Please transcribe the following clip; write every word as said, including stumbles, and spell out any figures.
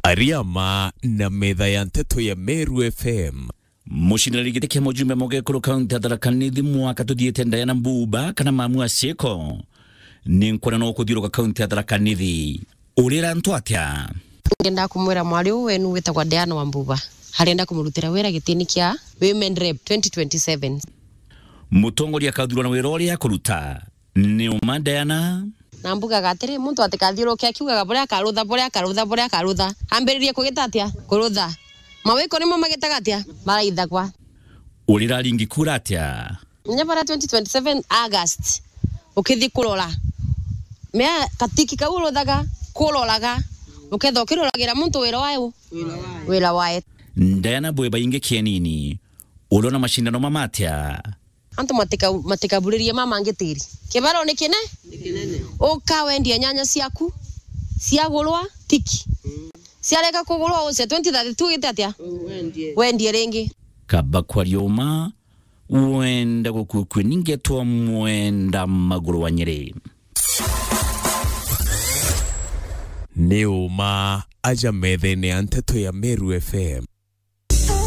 Ariama na metha ya nteto ya Meru F M. Mucindani giti kia mujumbe mugekuru kaunti ya Tharaka Nithi mwaka tuthiite, Diana Mbuba kana Mamu Aciko, ni nkwona no kuthiuruka kaunti ya Tharaka Nithi. Urira antu atia? Ngenda kumwira mwari uu wenu witagwa Diana wa Mbuba. Arenda kumurutira wira gitini kia Women Rep twenty twenty-seven. Mutongoria akathurwa na wira uria akuruta. Ni uma, Diana? Na mbugaga atiri, muntu atikathiuruke akiugaga buria akarutha, buria akarutha, buria akarutha. Ambiririe kugita atia? Kurutha. Mawiko nimo magitaga atia? Maraithagwa. Urira aringi kura atia? Nya bara twenty twenty-seven August, ukithi kurora. Mea katiki kau uruthaga, kuroraga, uketha ukiruragira muntu wira wae u? Wira wae. Diana, bwe baingi kienini, urona macindano mama atia? Antu matika-, matikaburirie mama ngi tiri. Kibaro ni kine? Ni kinene. Uka wendia nyanya ciaku, ciagurwa, tiki. Mm. Ciarega kugurwa, uce twenty thirty-two gite atia? U-, wendie. Wendie ringi. Kaba kwaria uma, wenda gukukue ningetwa mwenda maguru wa Nyeri. Ni uma aja methene ya nteto ya Meru F M.